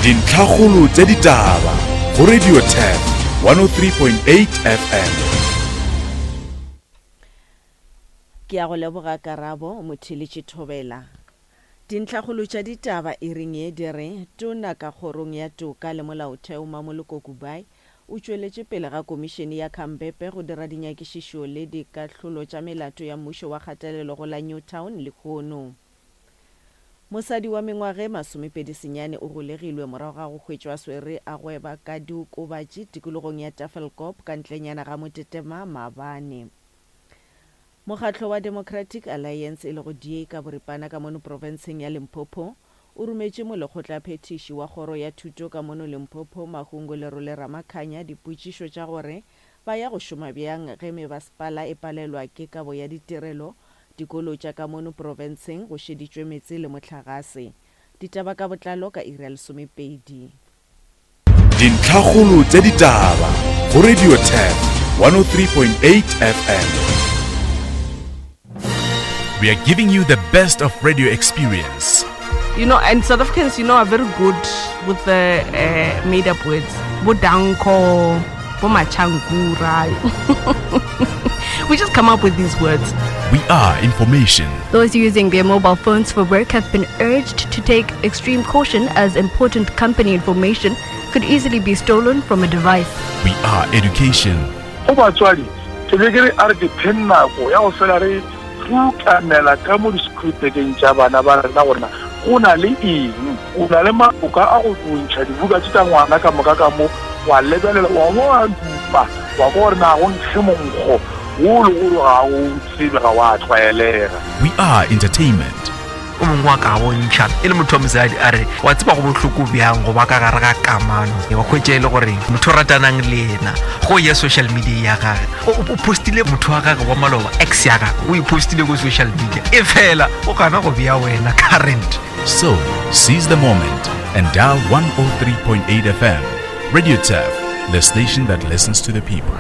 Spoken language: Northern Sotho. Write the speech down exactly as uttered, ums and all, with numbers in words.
Dintlhakgolo tša ditaba go Radio Turf one oh three point eight F M. Ke a go leboga Karabo Motheletši Thobela. Dintlhakgolo tša ditaba e reng ye di re Tona ka kgorong ya toka le molaotheo Mamoloko Kubayi o tšweletše pele ga komišene ya Khampepe go dira dinyakišišo le dikahlolo tša melato ya mmušo wa kgatelelo go la Newtown lehono. Mosadi wa mengwaga e masomepedi senyane o golegilwe morago ga go hwetšwa swere a gweba ka diokobatši tikologong ya Tafelkop ka ntlenyana ga Motetema maabane. Mokgatlo wa Democratic Alliance e lego D A ka boripana ka mono profenseng ya Limpopo o rometše molekgotlaphethiši wa kgoro ya thuto ka mono Limpopo Mahungu Lerole Ramakhanya dipotšišo tša gore ba ya go šoma bjang ge mebasepala e palelwa ke kabo ya ditirelo dikolo tša ka mono profenseng go šeditšwe meetse le mohlagase. Ditaba ka botlalo ka iri ya lesomepedi. Dintlhakgolo tša ditaba go Radio Turf one oh three point eight F M. We are giving you the best of radio experience. You know, and South Africans, you know, are very good with the, uh, made-up words. Bo danko, bo machangura. We just come up with these words. We are information. Those using their mobile phones for work have been urged to take extreme caution as important company information could easily be stolen from a device. We are education. Go batswadi, ke be ke re a re ke phe nako ya go fela re rutanela ka mo di-scripteng tša bana ba rena gore na go na le eng, o na le maboka a go ntšha dibuka tše tša ngwana ka moka ka mo, wa lebelela, wa bo wa dupa, wa kwa gore na go nkge monkgo wo le gore ga o tsebe, ga wa tlwaelega. We are entertainment. O mongwe wa ka bontšha e le motho wa mosadi a re wa tseba go bohloko bjang go ba ka gare ga kamano, wa hwetša e le gore motho o ratanang le yena go ya social media ya gage, o, o postile motho wa gage wa maloba, ex ya gage, o e postile ko social media, e fela o gana go bea wena current. So seize the moment and dial one oh three point eight F M. Radio Turf, the station that listens to the people.